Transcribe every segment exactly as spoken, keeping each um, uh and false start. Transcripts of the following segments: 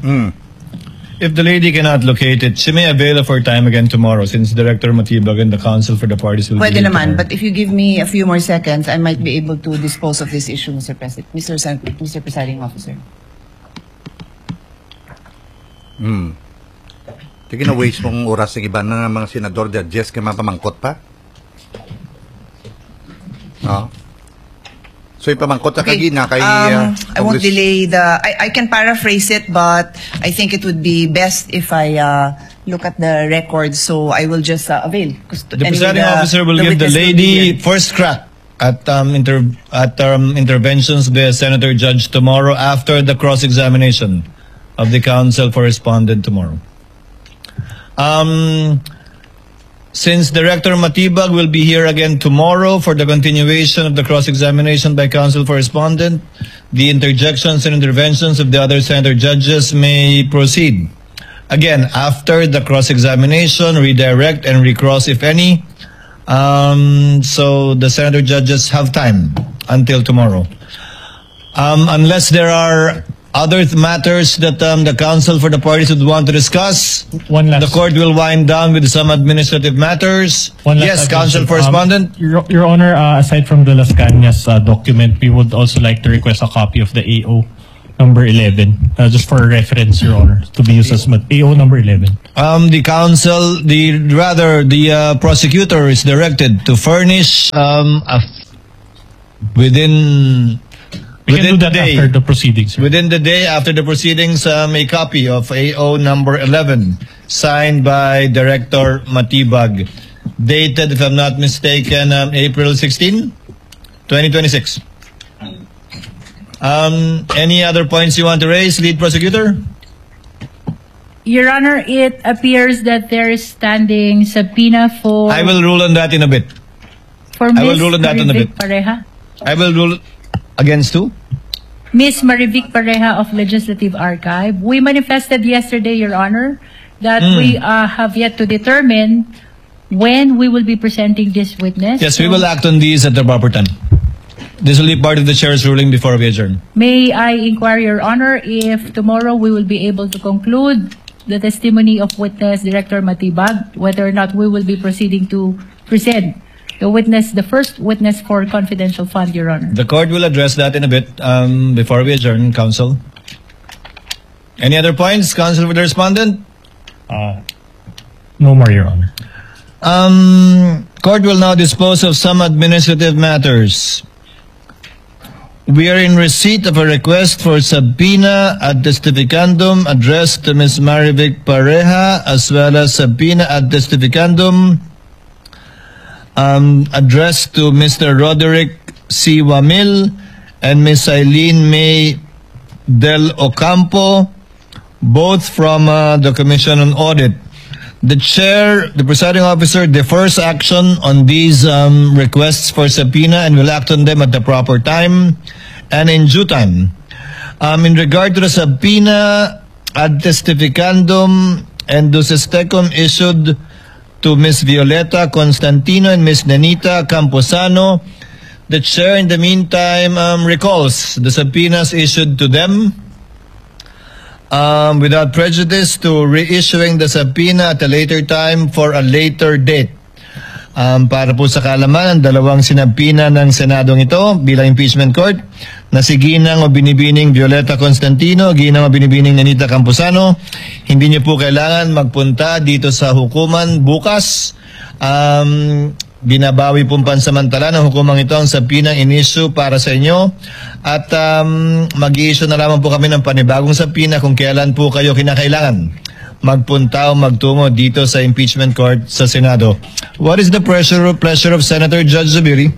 Hmm. If the lady cannot locate it, she may avail of her time again tomorrow since Director Matibag and the counsel for the parties will Pwede be here naman, tomorrow. But if you give me a few more seconds, I might be able to dispose of this issue, Mister President, Mister Sen-, Mister Presiding Officer. Hmm. Sige na, waste mong oras sa iba na mga senador, judges, kay mapamangkot pa. Oh. So, ipamangkot na Okay, kagina kay, um, uh, I won't Congress- delay the, I, I can paraphrase it, but I think it would be best if I, uh, look at the record, so I will just, uh, avail. Gusto, The anyway, presiding the, officer will the give the witness will be lady here. First crack at, um, inter-, at, um, interventions by Senator Judge tomorrow after the cross-examination of the counsel for respondent tomorrow. Um, since Director Matibag will be here again tomorrow for the continuation of the cross-examination by counsel for respondent, the interjections and interventions of the other senator judges may proceed. Again, after the cross-examination, redirect and recross if any. Um, so the senator judges have time until tomorrow. Um, unless there are other th-, matters that, um, the counsel for the parties would want to discuss, One last the court will wind down with some administrative matters. One last Yes, counsel addition. Um, respondent. Your, Your Honor, uh, aside from the Las Cañas, uh, document, we would also like to request a copy of the A O number eleven, uh, just for reference, Your Honor, to be used as mat-, A O number eleven. Um, the counsel, the, rather, the, uh, prosecutor is directed to furnish, um, a f-, within, We can within do the that day. After the proceedings, sir. Within the day after the proceedings, um, a copy of A O number eleven, signed by Director Matibag, dated, if I'm not mistaken, um, April sixteen, twenty twenty-six. Um, any other points you want to raise, lead prosecutor? Your Honor, it appears that there is standing subpoena for I will rule on that in a bit. For I will Miss rule on that in a Marivic bit. Pareha. I will rule against who? Miss Marivic Pareha of Legislative Archive. We manifested yesterday, Your Honor, that Hmm. we, uh, have yet to determine when we will be presenting this witness. Yes, we So, will act on these at the proper time. This will be part of the chair's ruling before we adjourn. May I inquire, Your Honor, if tomorrow we will be able to conclude the testimony of witness Director Matibag, whether or not we will be proceeding to present the witness, the first witness for confidential fund, Your Honor? The court will address that in a bit, um, before we adjourn, counsel. Any other points, counsel, for the respondent? Uh, no more, Your Honor. Um, court will now dispose of some administrative matters. We are in receipt of a request for subpoena ad testificandum addressed to Miss Marivic Pareha, as well as subpoena ad testificandum, um, addressed to Mister Roderick C. Wamil and Miss Eileen May Del Ocampo, both from, uh, the Commission on Audit. The chair, the presiding officer, defers action on these, um, requests for subpoena and will act on them at the proper time and in due time. Um, in regard to the subpoena ad testificandum and duces tecum issued to Miss Violeta Constantino and Miss Nenita Camposano, the chair, in the meantime, um, recalls the subpoenas issued to them, um, without prejudice to reissuing the subpoena at a later time for a later date. Um, para po sa kaalaman, ang dalawang sinabpina ng Senadong ito bilang impeachment court na si Ginang o Binibining Violeta Constantino, Ginang o Binibining Nenita Camposano, hindi niyo po kailangan magpunta dito sa hukuman bukas. Um, binabawi pong pansamantala ng hukumang ito ang subpoena in-issue para sa inyo at, um, mag-i-issue na lamang po kami ng panibagong subpoena kung kailan po kayo kinakailangan magpunta o magtungo dito sa impeachment court sa Senado. What is the pressure, pleasure of Senator Judge Zubiri?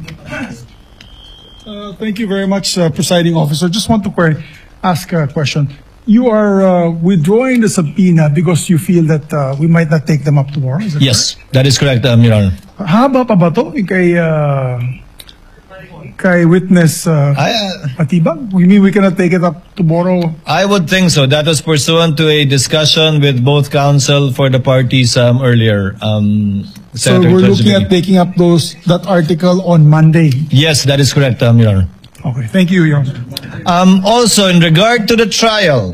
Uh, thank you very much, uh, Presiding Officer. Just want to que-, ask a question. You are, uh, withdrawing the subpoena because you feel that, uh, we might not take them up tomorrow, is that Yes, correct? That is correct, um, Your Honor. Haba pa ba to kay, uh, kay witness, uh, I, uh, Matibag? We mean we cannot take it up tomorrow? I would think so. That was pursuant to a discussion with both counsel for the parties, um, earlier, um, So Senator we're Judge looking Zubiri. At taking up those, that article on Monday? Yes, that is correct, um, Your Honor. Okay, thank you, Your Honor. Um, also, in regard to the trial,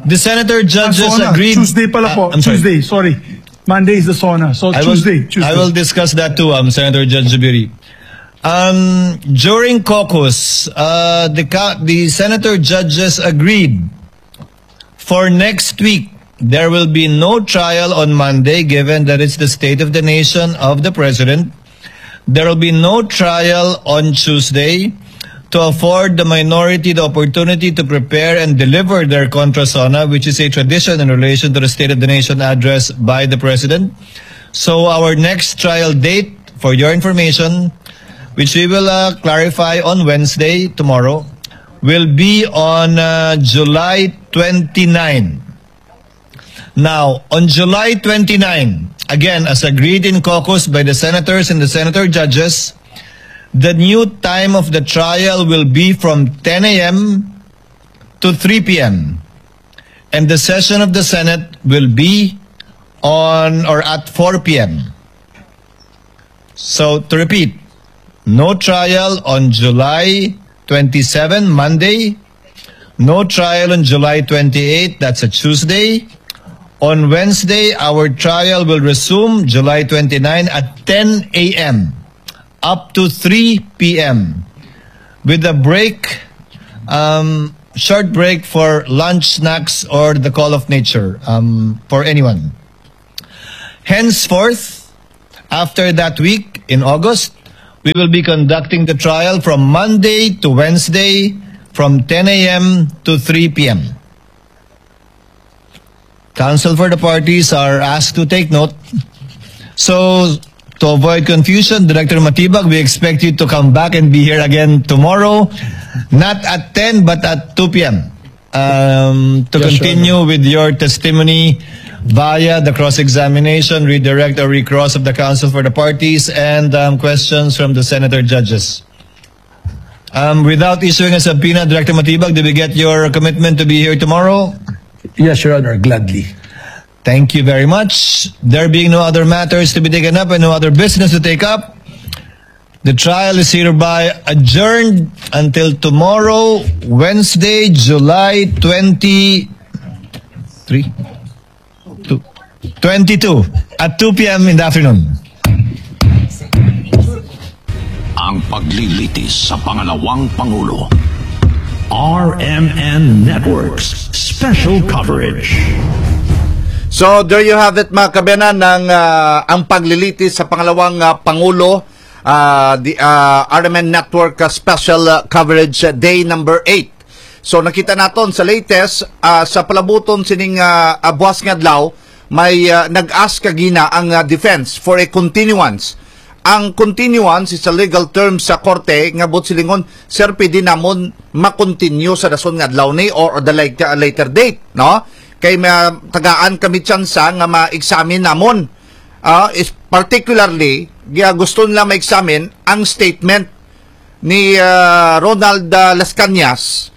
The senator judges SONA. Agreed. Tuesday pala Uh, po. I'm sorry. Tuesday, sorry. Monday is the SONA. So I Tuesday, will, Tuesday. I will discuss that too, um, Senator Judge Zubiri. Um, during caucus, uh, the, ca- the senator judges agreed for next week, there will be no trial on Monday, given that it's the State of the Nation of the President. There will be no trial on Tuesday to afford the minority the opportunity to prepare and deliver their contra SONA, which is a tradition in relation to the State of the Nation address by the President. So our next trial date, for your information, which we will uh, clarify on Wednesday, tomorrow, will be on uh, July twenty-nine. Now, on July twenty-nine, again, as agreed in caucus by the senators and the senator judges, the new time of the trial will be from ten a m to three p m. And the session of the Senate will be on or at four p m. So, to repeat, no trial on July twenty-seven, Monday. No trial on July twenty-eight, that's a Tuesday. On Wednesday, our trial will resume July twenty-nine at ten a m up to three p m with a break, um, short break for lunch, snacks, or the call of nature, um, for anyone. Henceforth, after that week in August, we will be conducting the trial from Monday to Wednesday from ten a m to three p m. Counsel for the parties are asked to take note. So, to avoid confusion, Director Matibag, we expect you to come back and be here again tomorrow, not at ten but at two p m. Um, to Yes, Your continue with your testimony via the cross-examination, redirect or recross of the counsel for the parties, and um, questions from the senator judges. Um, without issuing a subpoena, Director Matibag, do we get your commitment to be here tomorrow? Yes, Your Honor, gladly. Thank you very much. There being no other matters to be taken up and no other business to take up, the trial is hereby adjourned until tomorrow, Wednesday, July twenty-three, two, twenty-two, at two p m in the afternoon. Ang paglilitis sa pangalawang pangulo. R M N Networks Special Coverage. So there you have it, mga kabiyanan, ng ah, ang paglilitis sa pangalawang ah, pangulo, ah, the ah, R M N Network ah, Special ah, Coverage ah, Day number eight. So nakita naton sa latest ah, sa palabuton sining ah, ah, buwas nga adlaw, may ah, nag-ask kagina ang ah, defense for a continuance. Ang continuance is a legal term sa korte nga buot silingon, "Sir, pwede namon ma-continue sa dason nga adlaw ni or the later, later date," no? Kay ma-, tagaan kami tsansa nga ma-examine namon. Ah, is particularly, gi-, gusto nila ma-examine ang statement ni ah, Ronald ah, Las Cañas,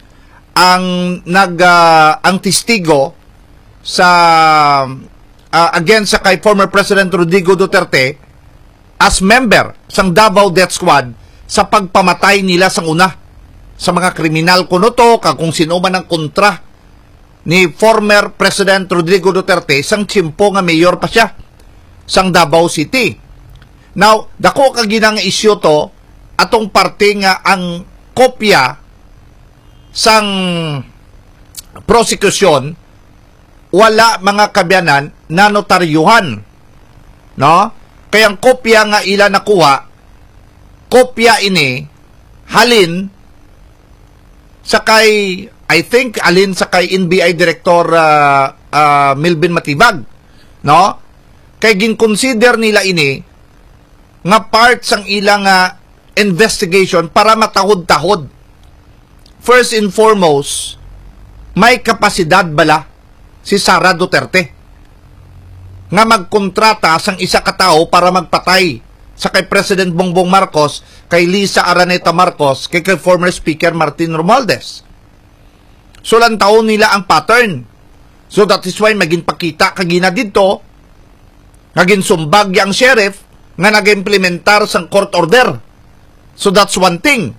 ang nag ah, ang testigo sa ah, against sa kay former President Rodrigo Duterte as member sang Davao Death Squad sa pagpamatay nila sang una sa mga kriminal kuno to kag kung sino man ang kontra ni former President Rodrigo Duterte sang tiyempo nga mayor pa siya sang Davao City. Now, dako ka ginang isyu to, atong parte nga ang kopya sang prosekusyon wala, mga kabiyanan, nanotaryuhan, no? Kay ang kopya nga ila nakuha, kopya ini halin sa kay, I think, halin sa kay N B I Director ah, ah, Melvin Matibag, no? Kay gin-consider nila ini nga part sang ila nga investigation para matahod-tahod. First and foremost, may kapasidad bala si Sara Duterte nga magkontrata sang isa ka tawo para magpatay sa kay President Bongbong Marcos, kay Liza Araneta Marcos, kay, kay former Speaker Martin Romualdez. So, lantawon nila ang pattern. So, that is why maging pakita kagina didto nga ginsumbag ya ang sheriff nga nag-implementar sang court order. So, that's one thing.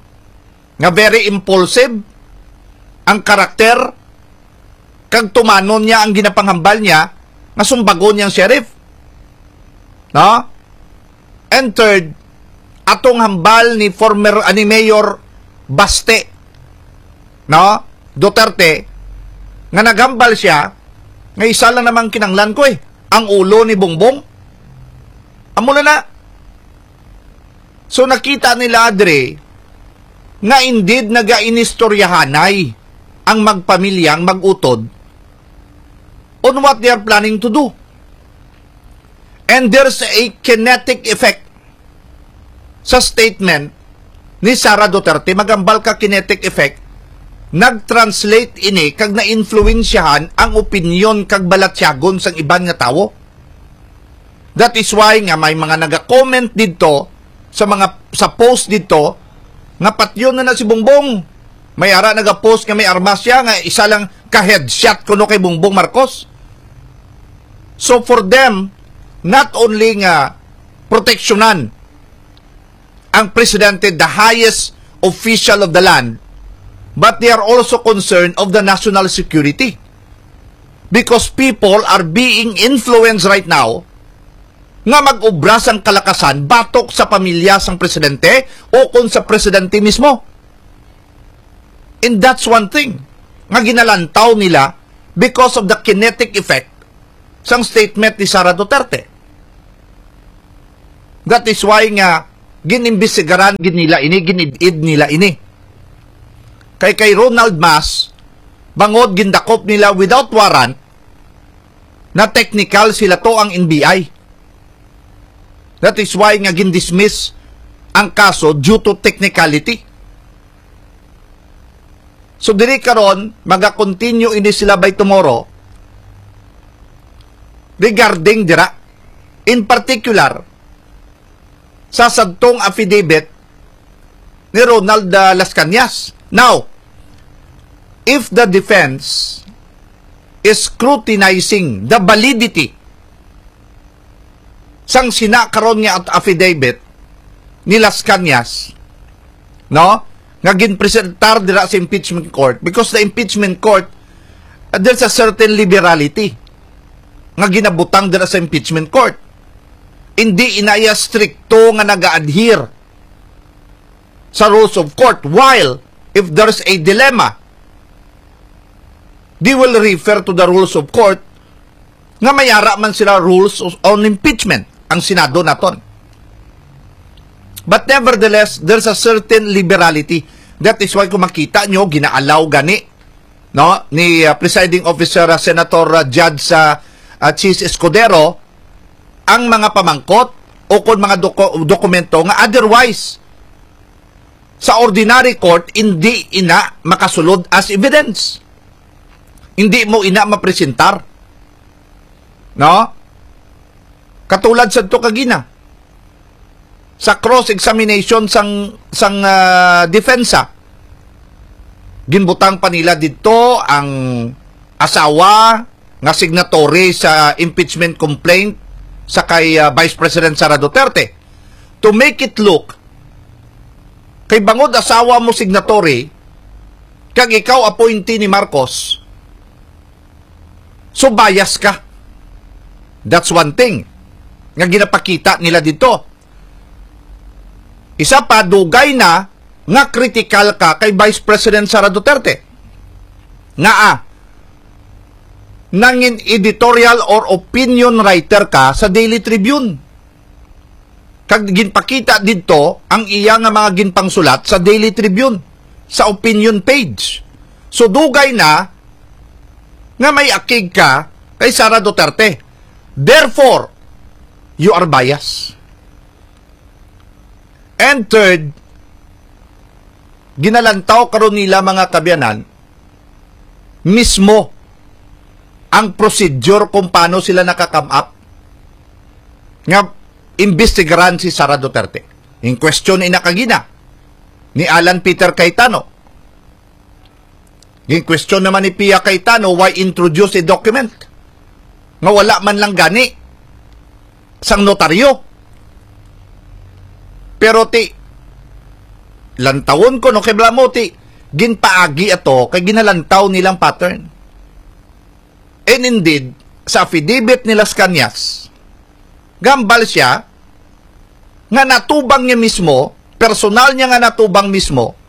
Nga very impulsive ang karakter kag tumanon niya ang ginapanghambal niya nga sumbagon niya ang sheriff. No? And third, atong hambal ni former, ah, ni Mayor Baste, no? Duterte, nga naghambal siya nga isa lang namang kinanglan ko eh, ang ulo ni Bongbong. Amo na na. So nakita nila, Dre, nga indeed nagainistoryahanay ang magpamilya, ang mag-utod, on what they are planning to do. And there's a kinetic effect sa statement ni Sara Duterte. Magambal ka kinetic effect, nag-translate ini kag na-influensyahan ang opinyon kag balatyagon sang iban nga tawo. That is why nga may mga naga-comment didto sa mga, sa post didto nga patyon na na si Bongbong. May ara naga-post nga may armas siya, nga isa lang ka headshot kuno kay Bongbong Marcos. So for them, not only nga proteksyonan ang presidente, the highest official of the land, but they are also concerned of the national security. Because people are being influenced right now nga mag-obra sang kalakasan batok sa pamilya sang presidente o kon sa presidente mismo. And that's one thing nga ginalantaw nila because of the kinetic effect sang statement ni Sara Duterte. That is why nga ginimbestigaran gid nila ini, ginid-id nila ini. Kay, kay Ronald Mas, bangod gindakop nila without warrant, na technical sila to ang N B I. That is why nga gindismiss ang kaso due to technicality. So diri karon, maga-continue ini sila by tomorrow regarding dira. In particular, sa sadtong affidavit ni Ronald, ah, Las Cañas. Now, if the defense is scrutinizing the validity sang sina karon nga at-, affidavit ni Las Cañas, no, nga ginpresentar dira sa impeachment court, because the impeachment court, uh, there's a certain liberality nga ginabutang dira sa impeachment court. Hindi inaya strikto nga nag-a-adhere sa rules of court. While, if there's a dilemma, they will refer to the rules of court nga may ara man sila rules on impeachment ang Senado naton. But nevertheless, there's a certain liberality. That is why kung makita nyo, ginaalaw gani, no, ni, uh, Presiding Officer, uh, Senator, uh, Judge, uh, uh, Chiz Escudero, ang mga pamangkot o kon mga doko-, dokumento nga otherwise sa ordinary court hindi ina makasulod as evidence. Hindi mo ina mapresentar. No? Katulad sa to kagina, sa cross-examination sang, sang, ah, depensa, ginbutang pa nila didto ang asawa nga signatory sa impeachment complaint sa kay, ah, Vice President Sara Duterte, to make it look kay bangod asawa mo signatory kag ikaw appointee ni Marcos, so bias ka. That's one thing nga ginapakita nila didto. Isa pa, dugay na nga kritikal ka kay Vice President Sara Duterte. Ngaa? Nangin editorial or opinion writer ka sa Daily Tribune. Kag ginpakita didto ang iya nga mga ginpangsulat sa Daily Tribune, sa opinion page. So, dugay na nga may akig ka kay Sara Duterte. Therefore, you are biased. And third, ginalantaw karon nila, mga kaabyanan, mismo ang procedure kung paano sila naka-come up nga imbestigaran si Sara Duterte. In question ina kagina ni Alan Peter Cayetano. Gin-question naman ni Pia Cayetano, why introduce a document nga wala man lang gani sang notaryo? Pero ti, lantawon ko, no, kay bala mo, ti, ginpaagi ato kay ginalantaw nilang pattern. And indeed, sa affidavit ni Las Cañas, gahambal siya nga natubang niya mismo, personal niya nga natubang mismo,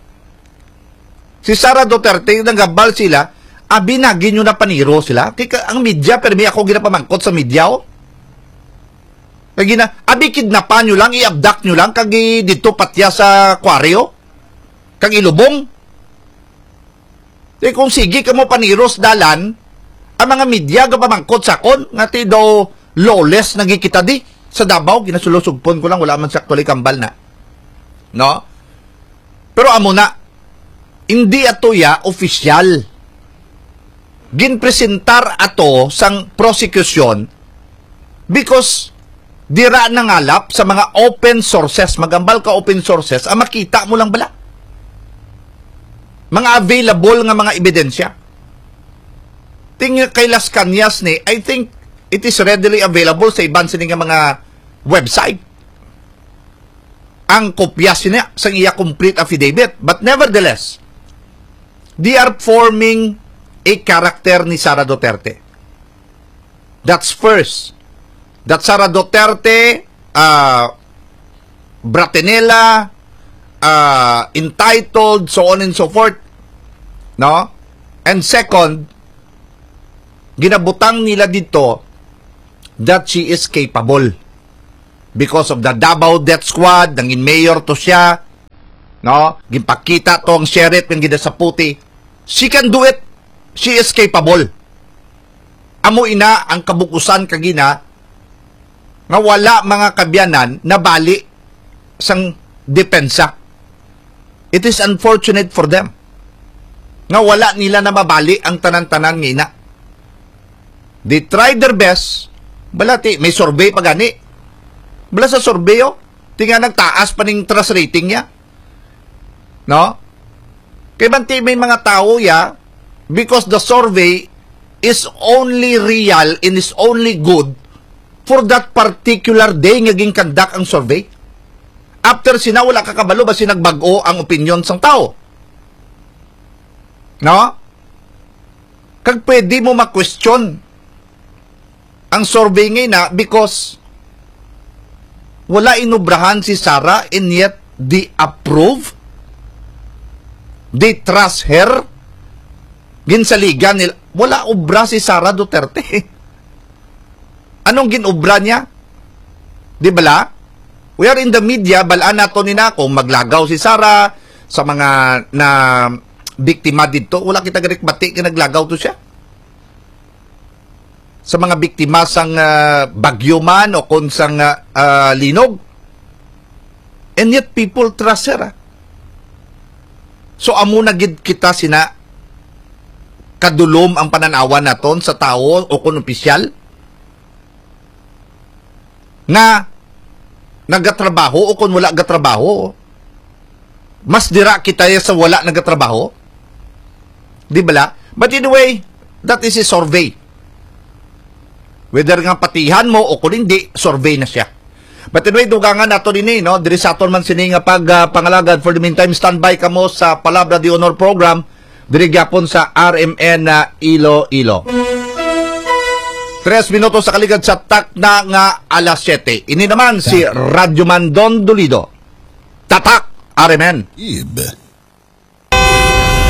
si Sara Duterte, naghambal sila, abi, nagi nyo na paniro sila. Kay ka, ang media, permi ako ginapamangkot sa media, oh. Kay gina, abi, kidnapan nyo lang, i-abduct nyo lang, kag i-, didto patya sa Kwaryo, kag ilubong. Kay kung sige kamo paniros dalan, ang mga media gapamangkot sa akon nga ti daw lawless nagi kita di sa Davao, ginasulusugpon ko lang, wala man sa actually kambal na. No? Pero amo na, hindi ato ya opisyal. Ginpresentar ato sang prosecution because dira nangalap sa mga open sources, magambal ka open sources, ang makita mo lang bala. Mga available nga mga ebidensya. Ting kay Las Cañas ni, I think it is readily available sa iban sini nga mga website. Ang kopya sina sang iya complete affidavit. But nevertheless, they are forming a character ni Sara Duterte. That's first. That Sara Duterte, ah, bratinela, ah, entitled, so on and so forth. No? And second, ginabutang nila dito that she is capable. Because of the Davao Death Squad, nangin mayor to siya, no? Ginpakita to ang sheriff nga ginasaputi. She can do it. She is capable. Amo ina ang kabukusan kagina nga wala mga kabyanan nabali sang depensa. It is unfortunate for them nga wala nila na mabali ang tanan-tanan nga ina. They tried their best. Bala ti, may survey pa gani. Bala sa survey, oh. Ti nga nagtaas pa ning trust rating niya. No? Kay banti may mga tawo ya, because the survey is only real and is only good for that particular day nga ginkandak ang survey. After sina, wala ka kabalo ba si nagbag-o ang opinion sang tawo. No? Kag pwede mo ma-question ang survey nga ina because wala inubrahan si Sara and yet they approve, they trust her, ginsaligan nila. Wala obra si Sara Duterte. Anong ginobra niya? Di bala? We are in the media, balaan nato ni na kung maglagaw si Sara sa mga na biktima dito. Wala kita garik bati kay naglagaw to siya. Sa mga biktima sang, ah, bagyo man o kon sang, ah, ah, linog. And yet people trust her, ah. So, amo na gid kita sina kadulom ang pananawan naton sa tawo o kon opisyal nga nagatrabaho o kon wala gatrabaho. Mas dira kita sa wala nagatrabaho. Di bala? But anyway, that is a survey. Whether nga patihan mo o kung hindi, survey na siya. But anyway, dugangan nato dini, no? Diri sa aton man sini nga pag, ah, pangalagad. For the meantime, standby kamo sa Palabra de Honor program diri gyapon sa R M N na Iloilo. Tres minutos sa kaligad sa takna nga alas siyete. Ini naman si Radyo Man Don Dolido. Tatak, R M N. Ib.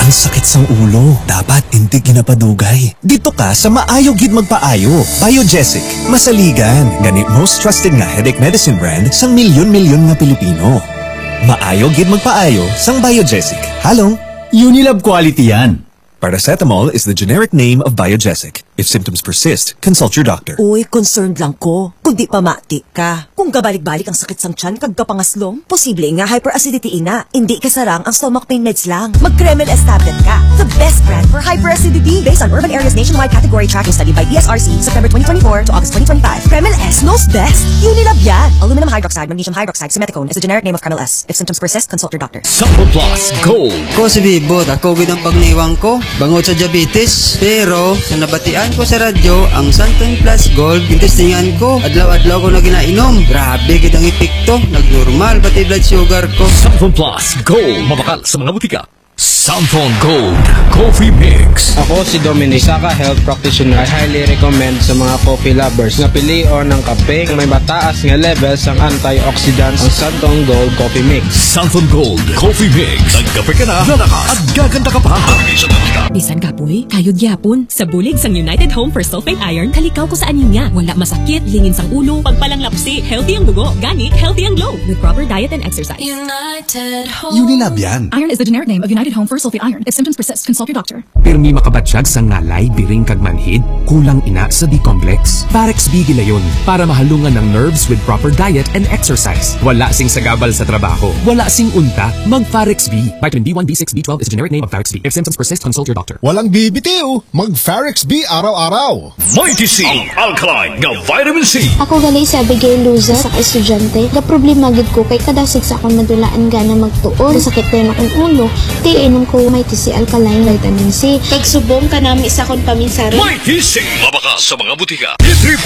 Ang sakit sang ulo, dapat hindi ginapadugay. Dito ka sa maayo gid magpaayo. Biogesic, masaligan. Gani most trusted nga headache medicine brand sang milyon-milyon nga Pilipino. Maayo gid magpaayo sang Biogesic. Halong. Unilab quality yan. Paracetamol is the generic name of Biogesic. If symptoms persist, consult your doctor. Uy, concerned lang ko kung di pamati ka. Kung gabalik-balik ang sakit sang tiyan kag kapangaslong, posible nga hyperacidity ina. Hindi kasarang ang stomach pain meds lang. Mag Kremel S tablet ka. The best brand for hyperacidity based on urban areas nationwide category tracking study by D S R C, September twenty twenty-four to August twenty twenty-five. Kremel S knows best. Unilab yan. Aluminum hydroxide, magnesium hydroxide, simethicone is the generic name of Kremel S. If symptoms persist, consult your doctor. Sample Plus Gold. Ko si Bibot, ako gid ang pagniwang ko bangod sa diabetes. Pero sa nabatian ko sa radyo, ang Santon Plus Gold, gintestingan ko. Adlaw-adlaw ko na ginainom. Grabe gid ang epekto. Nagnormal pati blood sugar ko. Sample Plus Gold. Mabakal sa mga butika. Santon Gold Coffee Mix. Ako si Dominic, isa ka health practitioner. I highly recommend sa mga coffee lovers nga pilion ang kape nga may mataas nga level sang antioxidants, ang Santon Gold Coffee Mix. Santon Gold Coffee Mix. Nagkape ka na, lalakas, at gaganda ka pa. Bisan kapoy, kayod gyapon. Sa bulig sang United Home for Sulfate Iron, kalikaw ko sa anemia. Wala masakit, lingin sang ulo, pagpalanglapsi, healthy ang dugo, gani, healthy ang glow. With proper diet and exercise. United Home. Unilab yan. Iron is the generic name of United Home for Sulfate Iron. If symptoms persist, consult your doctor. Pirmi makabatyag sa ngalay, biring kag manhid, kulang ina sa B-complex. Farex B gilayon para mahalungan ang nerves with proper diet and exercise. Wala sing sagabal sa trabaho, wala sing unta, mag Farex B. Vitamin B one, B six, B twelve is generic name of Farex B. If symptoms persist, consult your doctor. Walang bibitiw, mag Farex B araw-araw. Mighty C, ang alkaline nga vitamin C. Ako gali si Abigail Luza, sa ka estudyante. Ga problema gid ko kay kada sigsa akong nadulaan gana magtuon. Sakit dayon akong ulo, kay inom ko Mighty C alkaline vitamin C. Kag subong kanami sa akong paminsaron. Mighty C, mabaka sa mga butika.